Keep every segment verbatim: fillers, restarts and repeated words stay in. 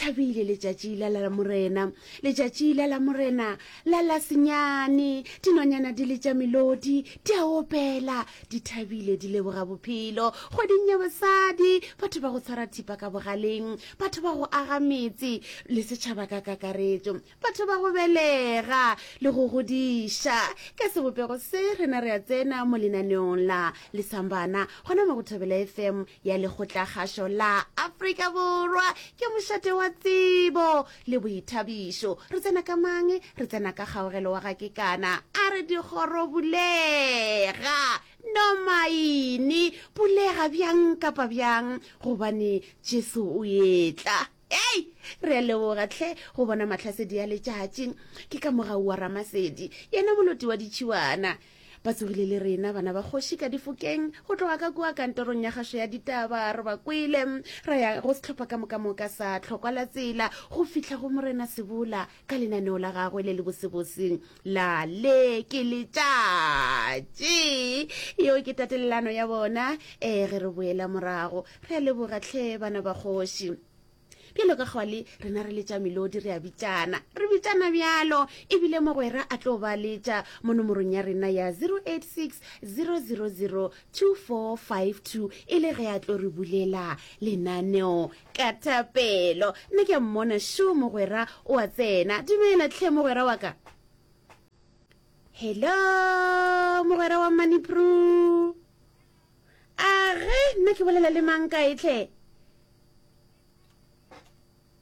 Thabile letšatši la la Morena, letšatši la la Morena la la senyane. Dinonyana di letša melodi, di a opela, di thabile, di leboga bophelo. Kgweding ya basadi, batho ba go tshwara thipa ka bogaleng, batho ba go aga metse le setšhaba ka kakaretšo, batho ba go belega le go godiša. Ka sebopego se, rena re a tsena mo lenaneong la Lesambana, gona mo go Thobela F M ya Lekgotlakgašo la Afrika Borwa. Ke mošate wa tsebo le boithabišo. Re tsena ka mang? Re tsena ka Kgaogelo wa ga Kekana. A re dikgoro bulega, nomaine bulega bjang kapa bjang, gobane Jesu o etla. Ei, re a leboga hle go bona mahlasedi a letšatši. Ke ka mogau wa Ramasedi, yena moloti wa ditšhiwana. Ba tsogile le rena bana ba kgoši ka difokeng go tloga ka kua kantorong ya kgašo ya ditaba. Re ba kwele ra ya go sehlopha ka moka moka sa Tlhokwa la Tsela go fihla go Morena Sebola ka lenaneo la gagwe le lebosebose la Le ke Letšatši. Yeo ke tatelelano ya bona. Ee, ge re boela morago, re a leboga hle bana ba kgoši. Bjalo ka kgwale, rena re letša melodi, re a bitšana. Re bitšana bjalo, ebile mogwera a tlo ba letša mo nomorong ya rena ya zero eight six, zero zero zero, two four five two, e le ge a tlo re bulela lenaneo ka thapelo. Nna ke a mmona, šo mogwera o a tsena. Dumela hle mogwera wa ka. Hello, mogwera wa Manipru. A ge, nna ke bolela le mang kae hle?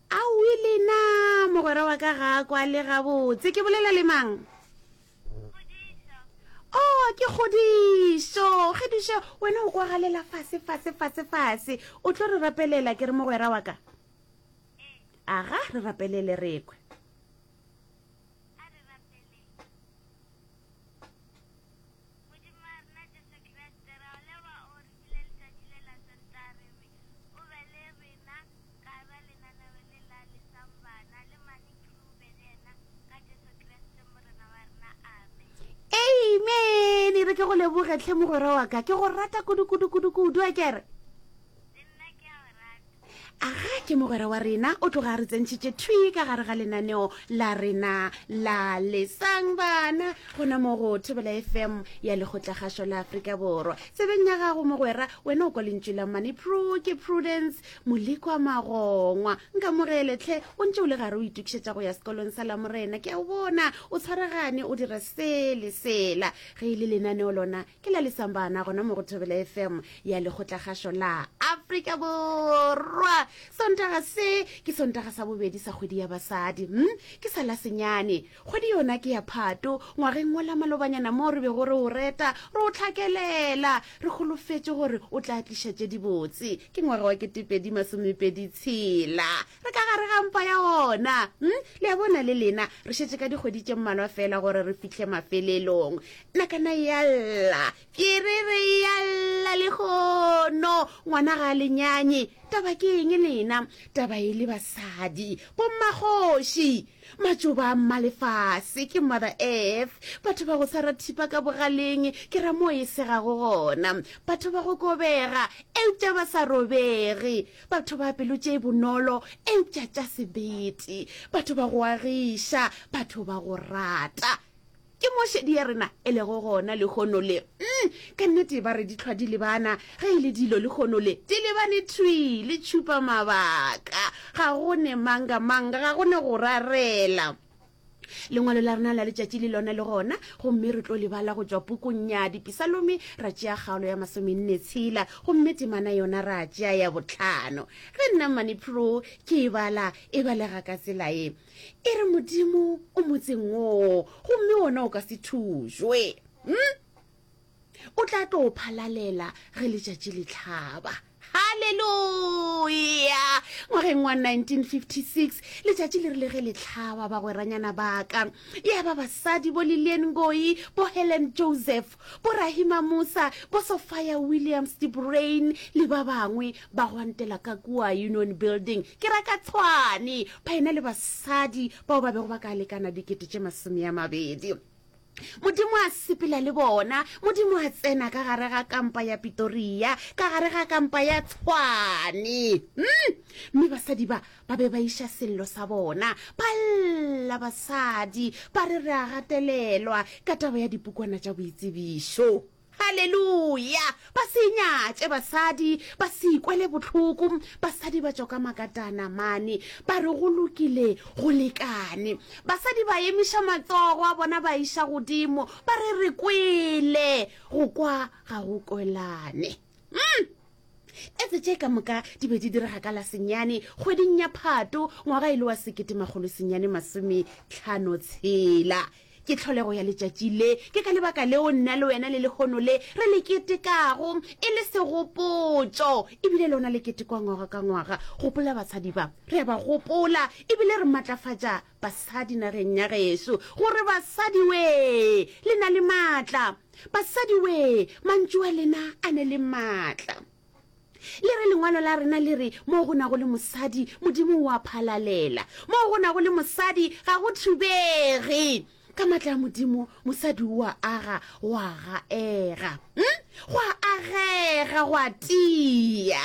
Aowi lena, mogwera wa ka ga a kwale gabotse. Ke bolela le mang? Oh, ke Kgodišo. Kgodišo, wena o kwagalela fase, fase, fase, fase. O tlo re rapelela, ke re mogwera wa ka? Aga, re rapelele re kwe. Modimo wa rena Jesu Kriste, ra o leboga o re file letšatši le la Sontaga re re o be le rena ka ba lenaneo le la Lesang Bana le Mane Crew be le yena ka Jesu Kriste Morena wa rena. Amen. Amen. Re ke go leboge hle mogwera wa ka. Ke go rata kudu kudu kudu kudu a kere. Le nna ke a go rata. Aga ke mogwera wa rena o tloga a re tsentšhitše thwi ka gare ga lenaneo la rena la Lesang Bana gona mo go Thobela F M ya Lekgotlakgašo la Afrika Borwa. Tsebeng ya gago mogwera, wena o kwa lentšu la Mane Pru, ke Prudence Molekwa Magongwa. Nkamogele hle, o ntše o le gare o itokišetša go ya sekolong sa Lamorena. Ke a o bona o tshwaragane o dira se le sela. Ge e le lenaneo lona ke la Lesang Bana gona mo go Thobela F M ya Lekgotlakgašo la Afrika Borwa. Sontaga se ke Sontaga sa bobedi sa kgwedi ya basadi. Hm, ke sa la senyane. Kgwedi yona ke ya Phato, ngwageng wola malobanyana moo re bego re o reta, re o hlakelela, re holofetše gore o tla tliša tše dibotse. Ke ngwaga wa ketepedi masomepedi tshela. Re ka gare ga mpa ya ona. Hm, le a bona le lena, re šetše ka dikgwedi tše mmalwa feela gore re fihle mafelelong. Nakana e a lla, pšerere e a lla lehono, ngwana ga a le nyanye. Taba ke eng lena? Taba e le basadi, bommakgoši, matšoba a mmalefase, ke Mother Earth, batho ba go tshwara thipa ka bogaleng, ke ra moo e segago gona, batho ba go kobega eupša ba sa robege, batho ba pelo tše bonolo eupša tša sebete, batho ba go agiša, batho ba go rata. Ke mo šedi ya rena e lego gona lehono le. Mm, ka nnete ba re dihlwa di lebana, ge e le dilo lehono le, di lebane thwi le tšhupa mabaka. Ga go ne manga-manga, ga go ne go rarela. Lengwalo la rena la letšatši le lona le gona, gomme re tlo le bala go tšwa pukung ya Dipisalome, ra tšea kgaolo ya masomenne tshela, gomme temana yona ra tšea ya bohlano. Ge nna Mmane Pro ke e bala, e balega ka tsela ye. E re Modimo o motseng woo, gomme wona o ka se thujwe. Hm? O tla tlo o phalalela ge letšatši le hlaba. Haleluya! Ngwageng wa nineteen fifty-six, letšatši le rile ge le hlaba, bagweranyana ba ka, ya ba basadi bo Lilian Ngoyi, bo Helen Joseph, bo Rahima Moosa, bo Sophia Williams de Bruyn le ba bangwe ba gwantela ka kua Union Building, ke ra ka Tshwane, ba ena le basadi bao ba bego ba ka lekana dikete tše masome a mabedi. Modimo a sepela le bona. Modimo a tsena ka gare ga kampa ya Pitoria, ka gare ga kampa ya Tshwane. Mm! Mme basadi ba ba be ba iša sello sa bona, ba lla basadi, ba re re a gatelelwa ka taba ya dipukwana tša boitsebišo. Haleluya! Ba se nyatše basadi, ba se ikwele bohloko. Basadi ba tšwa ka makatana mane, ba re go lokile, go lekane. Basadi ba emiša matsogo a bona ba iša godimo, ba re re kwele, go kwa ga go kwelane. Mm! Etse tše ka moka di be di direga ka la senyane kgweding ya Phato ngwaga e le wa sekete makgolo senyane masome tlhano tshela. Ke tlholego ya letšatši le. Ke ka lebaka leo nna le wena le lehono le re le ketekago e le segopotšo, e bile lona le ketekwa ngwaga ka ngwaga. Gopola basadi ba, re a ba gopola e bile re matlafatša basadi nageng ya gešo gore basadi wee, le na le maatla. Basadi wee, mantšu a lena a ne le maatla. Le re lengwalo la rena le re, Moo go nago le mosadi, Modimo o a phalalela. Moo go nago le mosadi, ga go thubege. Ka matla a Modimo, mosadi o a aga, go a gaega. Hm? Go a agega, go a tia.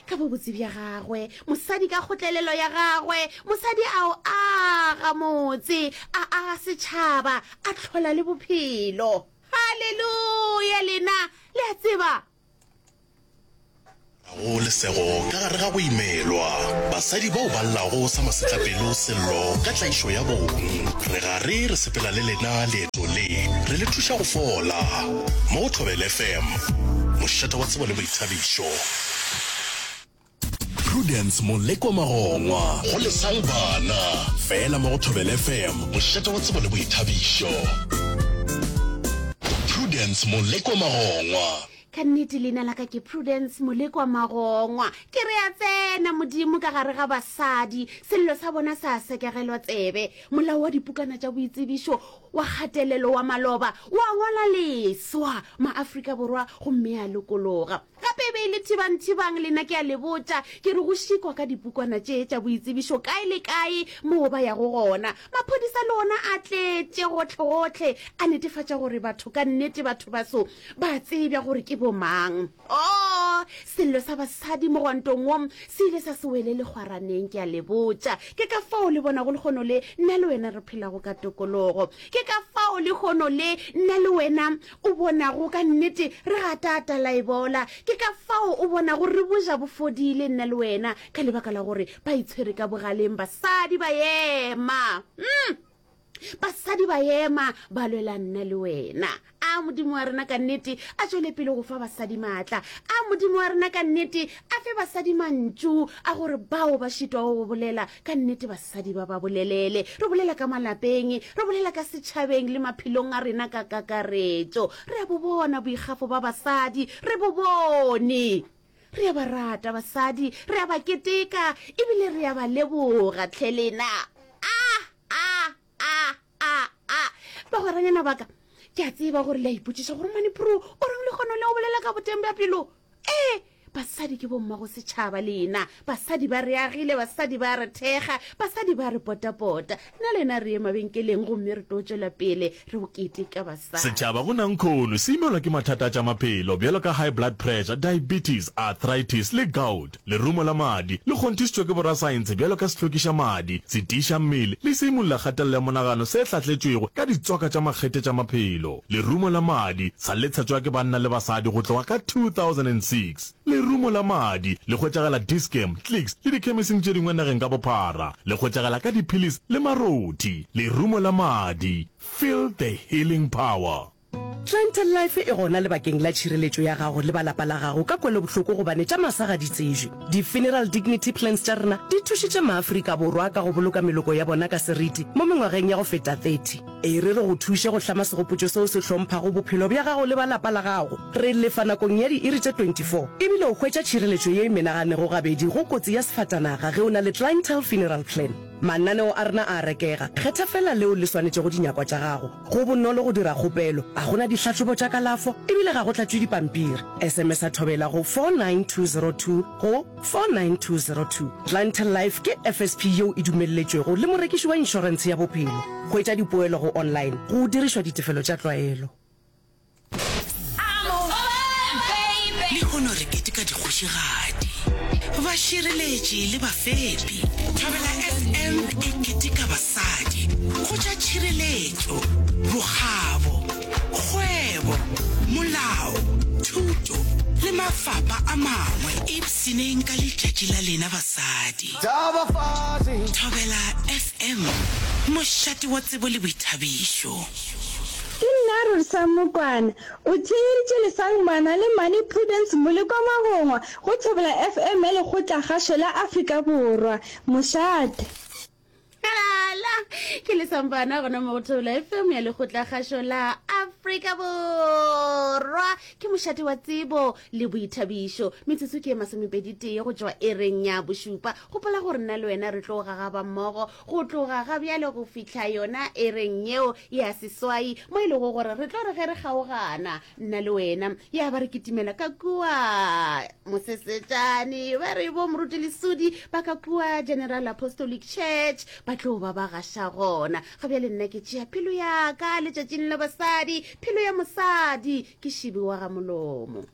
Ka bobotse bja gagwe, mosadi ka kgotlelelo ya gagwe, mosadi a o aga motse, a aga setšhaba, a hlola le bophelo. Haleluya! Lena, le a tseba. Go lesego ka gare ga go imelwa. Basadi bao ba llago sa masetlapelo sello ka tlaišo ya bong. Re gare re sepela le lena leeto le, re le thuša go fola. Mo go Thobela F M, mošate wa tsebo le boithabišo. Prudence Molekwa Magongwa go Lesang Bana, fela mo go Thobela F M, mošate wa tsebo le boithabišo. Prudence Molekwa Magongwa. Ka nnete leina la ka ke Prudence Molekwa Magongwa. Ke re a tsena Modimo ka gare ga basadi, sello sa bona sa sekegelwa tsebe. Molao wa dipukana tša boitsebišo wa kgatelelo wa maloba wa ngwalwa leswa ma-Afrika Borwa gomme a lokologa. Gape e be e le thibang-thibang, lena ke a le botša, ke re go šikwa ka dipukwana tše tša boitsebišo kae le kae moo ba yago gona. Maphodisa le ona a tletše gohle-gohle, a netefatša gore batho ka nnete batho baso ba tsebja gore ke bomang. Oo, sello sa basadi mogwantong wo se ile sa se wele lekgwaraneng, ke a le botša. Ke ka fao le bonago lehono le nna le wena re phelago ka tokologo. Ke ka fao lehono le nna le wena o bonago ka nnete re gataata laebola. Ke ka fao o bonago re boja bo fodile nna le wena, ka lebaka la gore ba itshwere ka bogaleng basadi ba ema. Mm! Basadi ba ema ba lwela nna le wena. A Modimo wa rena ka nnete a tšwele pele go fa basadi maatla. A Modimo wa rena ka nnete a fe basadi mantšu a gore bao ba šitwago go bolela ka nnete basadi ba ba bolelele. Re bolela ka malapeng, re bolela ka setšhabeng le maphelong a rena ka kakaretšo. Re a bo bona boikgafo ba basadi, re bo bone. Re a ba rata basadi, re a ba keteka ebile re a ba leboga tlhe lena. A a a a a bagweranyana baka, ke a tseba gore le a ipotšiša gore Mane Pro o reng le kgono le o bolela ka boteng bja pelo. Ee, basadi ke bommago setšhaba lena. Basadi ba re agile, basadi ba re thekga, basadi ba re potapota. Nna le lena re ye mabenkeleng gomme re tlo tšwela pele re keteka basadi. Setšhaba go nankhono se imelwa ke mathata a tša maphelo bjalo ka high blood pressure, diabetes, arthritis le gout. Lerumo la madi le kgonthišitšwe ke borasaense bjalo ka sehlokiša madi, setiiša mmele le seimolla kgatelelo ya monagano se hlahletšwego ka ditswaka tša makgethe tša maphelo. Lerumo la madi sa le tshetšwa ke banna le basadi go tloga ka two thousand and six Lerumo la madi le hwetšagala Dis-Chem, Clicks le dikhemising tše dingwe nageng ka bophara. Le hwetšagala ka diphilisi le marothi. Lerumo la madi, feel the healing power. Clientele Life e gona lebakeng la tšhireletšo ya gago le ba lapa la gago ka kwelobohloko gobane tša masa ga di tsejwe. Di-Funeral Dignity Plans tša rena di thušitše maAfrika Borwa ka go boloka meloko ya bona ka seriti mo mengwageng ya go feta thirty. E re re go thuše go hlama segopotšo seo se hlomphago bophelo bja gago le ba lapa la gago. Re lefa nakong ya diiri tše twenty four ebile o hwetša tšhireletšo ye e menaganego gabedi go kotsi ya sefatanaga ge o na le Clientele Funeral Plan. Mananeo a rena a a rekega. Kgetha feela leo le swanetšego dinyakwa tša gago. Go bonolo go dira kgopelo, ga go na dihlahlobo tša kalafo e bile ga go tlatšwe dipampiri. S M S-a Thobela go four nine two zero two go four nine two zero two. Clientele Life ke F S P yeo e dumelletšwego le morekiši wa inšorentshe ya bophelo. Hwetša dipoelo go online go dirišwa ditefelo tša tlwaelo. Lehono re keteka dikgošigadi, bašireletši le bafepi. Thobela F M e keteka basadi go tša tšhireletšo, bokgabo, kgwebo, molao, thuto le mafapa a mangwe. Ipshineng ka letšatši la lena basadi. Thobela F M, mošate wa tsebo le boithabišo. Ke nna Rorisang Mokwana. O theeditše Lesang Bana le Mane Prudence Molekwa Magongwa go Thobela F M ya Lekgotlakgašo la Afrika Borwa. Mošate. Lala ke Lesang Bana gona mo go Thobela F M ya Lekgotlakgašo la Afrika Borwa. Ke mošate wa tsebo le boithabišo. Metsotso ke e masomepedi tee go tšwa ereng ya bošupa. Gopola gore nna le wena re tlo gagaba mmogo go tloga ga bjale go fihla yona ereng yeo ya seswai, mo e lego gore re tlo re ge re kgaogana nna le wena ya ba re kitimela ka kua Mosesetšane. Ba re bo Moruti Lesudi ba ka kua General Apostolic Church ba tlo ba ba gaša gona. Ga bjale nna ke tšea pelo ya ka letšatšing la basadi. Pelo ya mosadi ke šibi wa ga molomo.